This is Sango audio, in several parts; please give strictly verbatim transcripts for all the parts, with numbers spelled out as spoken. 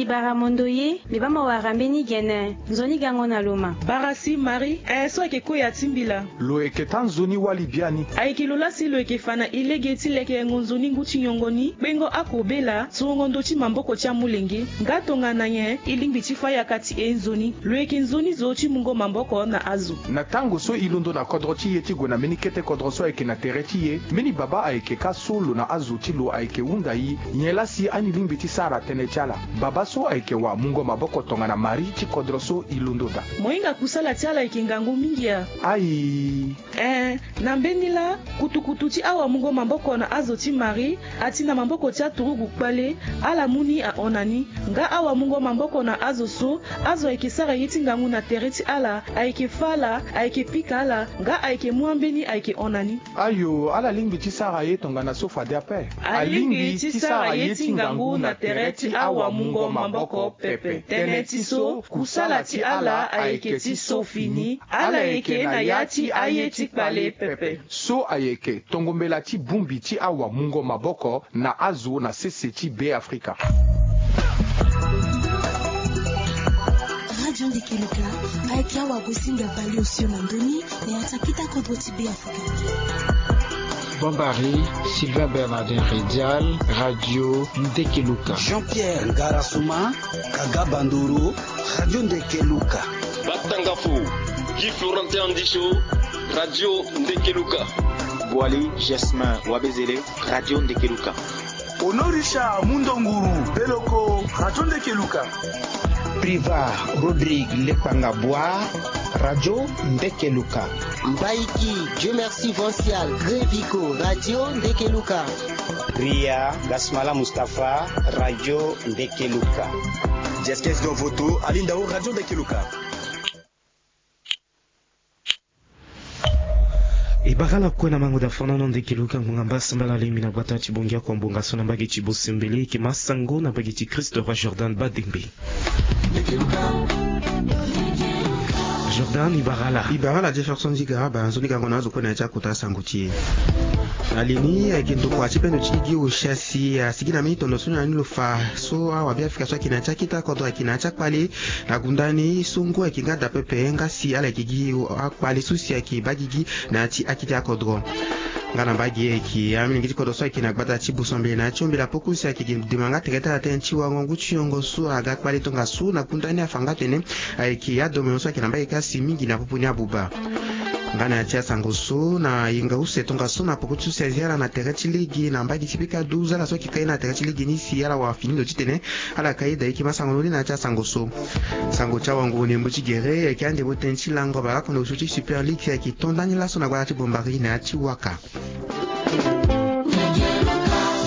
Bara mondo ye, mbi baa mo wara mbeni gene, nzoni gango na lo ma. Bara si Marie, eh, so ayeke koya ti mbila. Lo yeke taa nzoni wali biani. Ayeke lo laa si lo yeke fa na e lege ti lekerengo nzoni ngu ti nyongo ni, kpengo akobela, turugo ndö ti maboko ti amolenge. Nga tongana nyen e lingbi ti fa yaka ti e nzoni? Lo yeke nzoni zo ti mungo maboko na azo. Na tango so e londo na kodro ti e ti gue na mbeni kete kodro so ayeke na tere ti e, mbeni babâ ayeke kâ so lo na azo ti lo ayeke hunda e, nyen laa si ani lingbi ti sara tënë ti ala? Babâ so ayeke wamungo maboko tongana Marie ti kodro so e londo daa. Mo hinga kusala ti ala ayeke ngangu mingi a? Ayi. Eh, na mbeni laa, kutukutu ti awamungo maboko na azo ti Marie, ati na maboko ti aturugu kpale, ala mu ni ahon na ni. Nga awamungo maboko na azo so, azo ayeke sara ye ti ngangu na tere ti ala, ayeke fâ ala, ayeke pika ala, nga ayeke mu ambeni ayeke hon na ni. Ayo, ala lingbi ti sara ye tongana so fade ape. Alingbi ti sara ye ti ngangu na tere ti awamungo maboko pepe. Tënë ti so, kusala ti ala ayeke ti so fini. Ala yeke na ya ti aye ti kpale pepe. So ayeke tongo mbela ti bongbi ti awamungo maboko na azo na sese ti Beafrika. Radio Ndekeluka, ayeke awagosinga baleosio na ndö ni na ya ti akita kodro ti Beafrika. Bombari, Sylvain Bernardin Redial, Radio Ndekeluka. Jean-Pierre Ngarasuma, Kaga Bandoro, Radio Ndekeluka. Batangafo, Guy Florentin Andicho, Radio Ndekeluka. Boali Jasmin Wabezele, Radio Ndekeluka. Honorisha Mundonguru Beloko, Radio Ndekeluka. Priva Rodrigue Lekpanga Bwa, Radio Ndekeluka. Mbaiki Dieu Merci Vancial Greviko, Radio Ndekeluka. Ria Gasmala Mustapha, Radio Ndekeluka. Jeskes Dovoto Alindao, Radio Ndekeluka. E bara ala kue na mango da fana na Ndekeluka ngbonga mbasambala lemi na gbata ti bongia kua mbonga so na mbage ti bosembele eke masango na mbage ti Christ Roi Jordan Badembe. Jordan, e bara ala. E bara ala Jefferson Ziga, ba nzoni gango na azo kue na ya ti akota sango ti e. Na li ni ayeke ndokua ti bendo ti gigi Osia si asigi na mbeni tondo so na ni lo fa so awabeafrika so ayeke na ya ti akita kodro ayeke na ya ti akpale. Na gunda ni so ngu ayeke nga daa pepe nga si ala yeke gi akpale so si ayeke baa gigi na ya ti akiti akodro. Nga na mbage ayeke amolenge ti kodro so ayeke na gbata ti bosambele na ya ti ombela poko si ayeke dema nga tere ti ala tënë ti warango ngu ti yongo so aga kpale tongaso na gunda ni afa nga atene ayeke adomoyon so ayeke na mbage kasi mingi na popo ni abuba. Nga na ya ti asango so na yenga use tongaso na poko ti so si azi ala na tere ti lege na mbage ti pika douze ala so ayeke kai na tere ti lege ni si ala wara fini ndo titene ala kai da eke ma sango ni na ya ti asango so. Sango ti awango ndembo ti gere ayeke andembo tënë ti lango baleoko na osio ti Super League si ayeke to ndani laso na gbata ti Bombari na ya ti waka.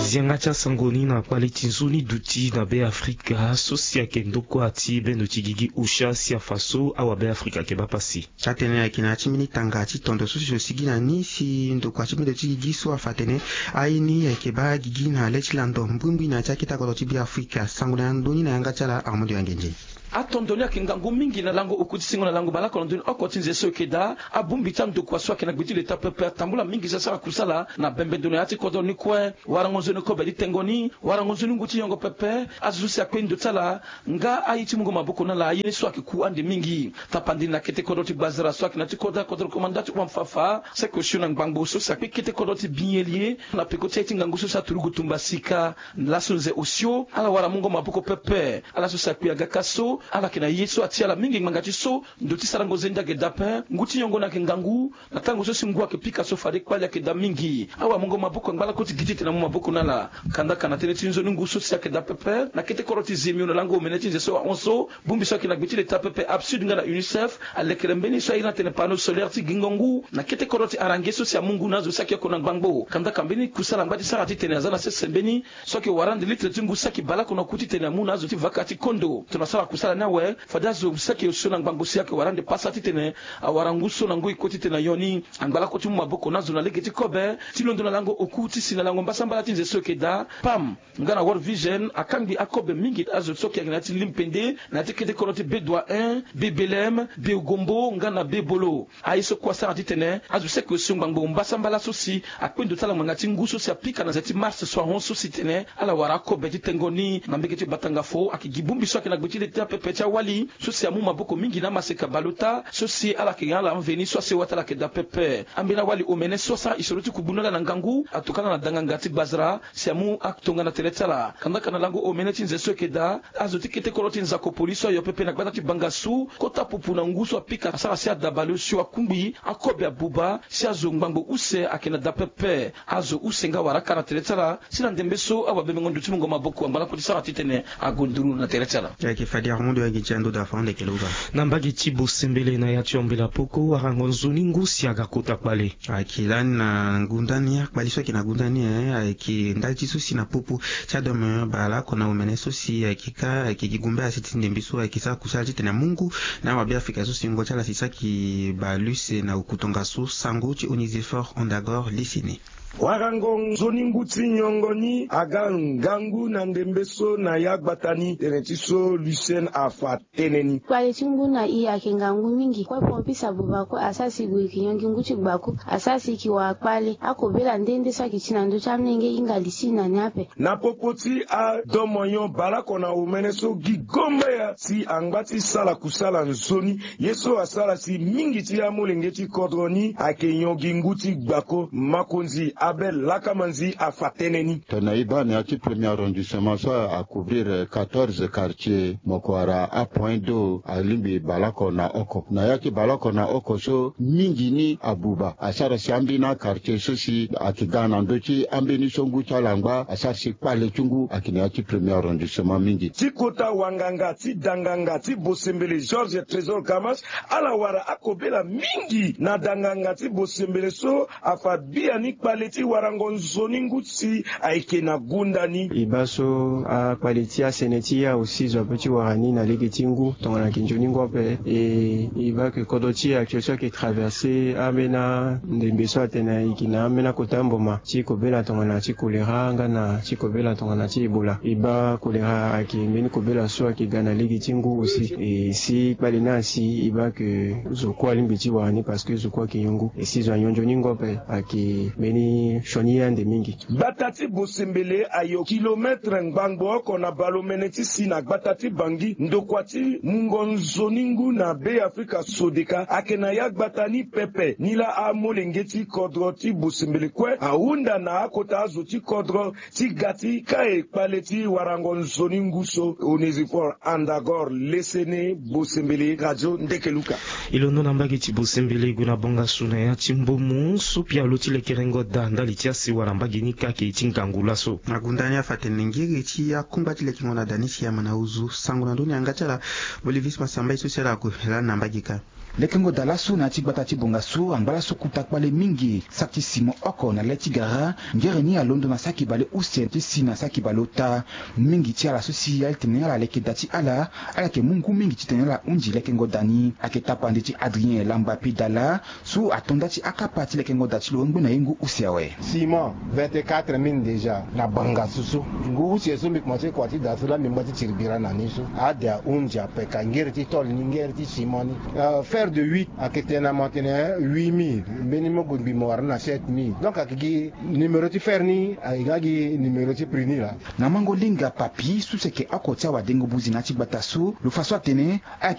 Zianga ti asango ni na kpale ti nzoni duti na Beafrika so si ayeke ndokua ti bendo ti gigi Osia si afa so awabeafrika ayeke baa pasi. Ti atene ayeke na ya ti mbeni tanga ti tondo so si lo sigi na ni si ndokua ti bendo ti gigi so afa atene aye ni ayeke baa gigi na le ti lando mbrimbri na ya ti akita kodro ti Beafrika. Sango na ndö ni na yanga ti ala Armando Yangenze. Atondo ni ayeke ngangu mingi na lango oku ti singo na lango baleoko na ndö ni oko ti nze so e yeke daa. Abongbi ti andokua so ayeke na gbe ti leta pepe atambula mingi so asara kusala na bembe ndo na ya ti kodro ni kue. Warango nzoni kobe ti tengo ni, warango nzoni ngu ti yongo pepe, azo so si akpe ndo ti ala nga aye ti mungo maboko na ala aye ni so ayeke ku ande mingi. Tapandi na kete kodro ti Gbazara so ayeke na ya ti kodro, kodro komanda ti Ouamfafa, seke osio na ngbangbo so si akpe kete kodro ti Bielie na peko ti aye ti ngangu so si aturugu tumba sika. Laso nze osio ala wara mungo maboko pepe. Ala so si akpe aga kâ so ala yeke na ye so atia ala mingi ngbanga ti so ndo ti sarango zende ayeke daa ape. Ngu ti yongo ni ayeke ngangu. Na tango so si ngu ayeke pika so fade kpale ayeke daa mingi. Awamungo maboko angba lakue ti gi titene amu maboko na ala. Kandaka na tënë ti nzoni ngu so si ayeke daa pepe na kete kodro ti Zemio na lango omene ti nze so ahon so, bongbi so ayeke na gbe ti leta pepe APSUD nga na UNICEF alekere mbeni so airi na tene panneau solaire ti gingo ngu na kete kodro ti Arangue so si amu ngu na azo so ayeke oko na ngbangbo. Kandaka mbeni kusala angba ti sara titene aza na sese mbeni so ayeke wara ande litre ti ngu saki baleoko na oku titene amu na azo ti vaka ti kondo. Tongana asara kusala Ni awe fade azo seke osio na ngbangbo si ayeke wara ande pasa titene awara ngu so na ngoi kue titene ayo ni. Angba lakue ti mu maboko na azo na lege ti kobe ti londo na lango oku ti si na lango mbasambala ti nze so eke daa, pam, nga na World Vision akangbi akobe mingi azo so ayeke na ya ti limpende na ya ti kete kodro ti Bedoua un, Bebelem, Beugombo nga na Bebolo. Aye so kue asara titene azo seke osio ngbangbo mbasambala so si akpe ndo ti ala ngbanga ti ngu so si apika na nze ti mars so ahon so si tene ala wara akobe ti tengo ni na mbege ti Batangafo. Ayeke gi bongbi so ayeke na gbe ti leta pepe ti awali so si amu maboko mingi na amaseka baleota so si ala yeke ga ala mveni so asewa ti ala yeke daa pepe. Ambeni awali omene so asara isoro ti kugbunu ala na ngangu atokana na danganga ti gbazara si amu atongana tere ti ala. Kandaka na lango omene ti nze so eke daa, azo ti kete kodro ti Nzako Poli so ayo pepe na gbata ti Bangassou kota pupu na ngu so apika asara si ada baleosio akungbi akobe abuba si azo ngbangbo use ayeke na daa pepe. Azo use nga wara aka na tere ti ala si na ndembe so awabemengo ndo ti mungo maboko angba lakue ti sara titene ague nduru na tere ti ala. Ayeke fade arondo ayeke ti ando da fa ande kele uba. Na mbage ti Bosembele na ya ti Ambela Poko, warango nzoni ngu si aga kota kpale. Ayeke lani na gunda ni, akpali so ayeke na gunda ni, eh, ayeke ndali ti so si na popo ti adame baleoko na omene so si ayeke ka ayeke gi gumbe asi ti ndembe so ayeke sara kusala titene amu ngu na awabe afrika so si wungo ti ala si saki baleuse na oku tongaso sango ti Onesphore Ondagor Lesene. Warango nzoni ngu ti nyongo ni aga ngangu na ndembe so na ya gbata ni tene ti so Lucien afa tënë ni. Kpale ti ngu na i ayeke ngangu mingi kue, pompiste abuba kue asara si gue e yeke nyon gi ngu ti gbako, asara si e yeke wara kpale akobela nde nde so ayeke ti na ndö ti amolenge hinga li ti e na ni ape. Na popo ti adomo nyon baleoko na omene so gi gombe ya si angba ti sala kusala nzoni ye so asara si mingi ti amolenge ti kodro ni ayeke nyon gi ngu ti gbako, makonzi Abel Lakamanzi afa tënë ni. Tongana e baa na ya ti premier arrondissement so a couvrir quatorze quartiers, mo yeke wara apoint d'eau alingbi baleoko na oko. Na ya ti baleoko na oko so mingi ni abuba asara si ambeni aquartier so si ayeke ga na ndö ti ambeni so ngu ti ala angba asara si kpale ti ngu ayeke na ya ti premier arrondissement mingi. Ti kota wanganga ti danganga ti Bosembele Georges Trésor Kamas, ala wara akobela mingi na danganga ti Bosembele so afa biani kpale ti warango nzoni ngu si ayeke na gunda ni. E baa so akpale ti asene ti e aussi zo ape ti wara ni na lege ti ngu tongana ayeke nzoni ngu ape. E, e baa ke kodro ti e actuel so ayeke traverse ambeni andembe so atene e yeke na ambeni akota mboma ti kobela tongana ti kolera nga na ti kobela tongana ti Ebola. E baa kolera ayeke mbeni kobela so ayeke ga na lege ti ngu aussi. E si kpale ni asi e baa ke zo kue alingbi ti wara ni parce que zo kue ayeke yongu. E si zo anyon nzoni ngu ape ayeke mbeni sioni ye ande mingi. Gbata ti Bosembele ayo kilometre ngbangbo oko na baleomene ti si na gbata ti Bangui, ndokua ti mungo nzoni ngu na Be Afrika Sodeka ayeke na ya gbata ni pepe. Nilaa amolenge ti kodro ti Bosembele kue ahunda na akota azo ti kodro ti ga ti kai kpale ti warango nzoni ngu so. Onesphore Andagor Lesene, Bosembele, Radio Ndekeluka. E londo na mbage ti Bosembele e gue na Bangassou na ya ti Mbomou so pialo ti lekerengo da ndali ti asewa na mbage ni kake ti ngangu laso. Na gunda ni afa tene ngiri ti akungba ti lekengo na da ni si ama na ozu sango na ndö ni yanga ti ala. Bolivis Masamba ye so si ala kue lani na mbage kâ. Lekengo da laso na ya ti gbata ti Bangassou angba laso kuta kpale mingi. Saki ti simo oko na le ti gara ngere ni alondo na saki baleuse ti si na saki baleota. Mingi ti ala so si ala tene ala leke da ti ala, ala yeke mu ngu mingi titene ala hunzi lekengo da ni. Ayeke tapande ti Adrien Lamba Pidala so ato nda ti akapa ti lekengo da ti lo ngbene ye ngu use awe. Simo vingt-quatre mine déjà na Bangassou so. Ngu use so mbi komanse kua ti da so laa mbi ngba ti tiri bira na ni so ade ahunzi ape ka ngere ti tôle ni ngere ti simo ni. Euh, fer de huit ayeke tene na mo atene huit mille, mbeni mo gue ngbi mo wara ni na sept mille. Donc ayeke gi numéro ti fer ni ayeke nga gi numéro ti prix ni laa. Na mango linga papi so si ayeke oko ti awadengo buzi na ya ti gbata so lo fa so atene ala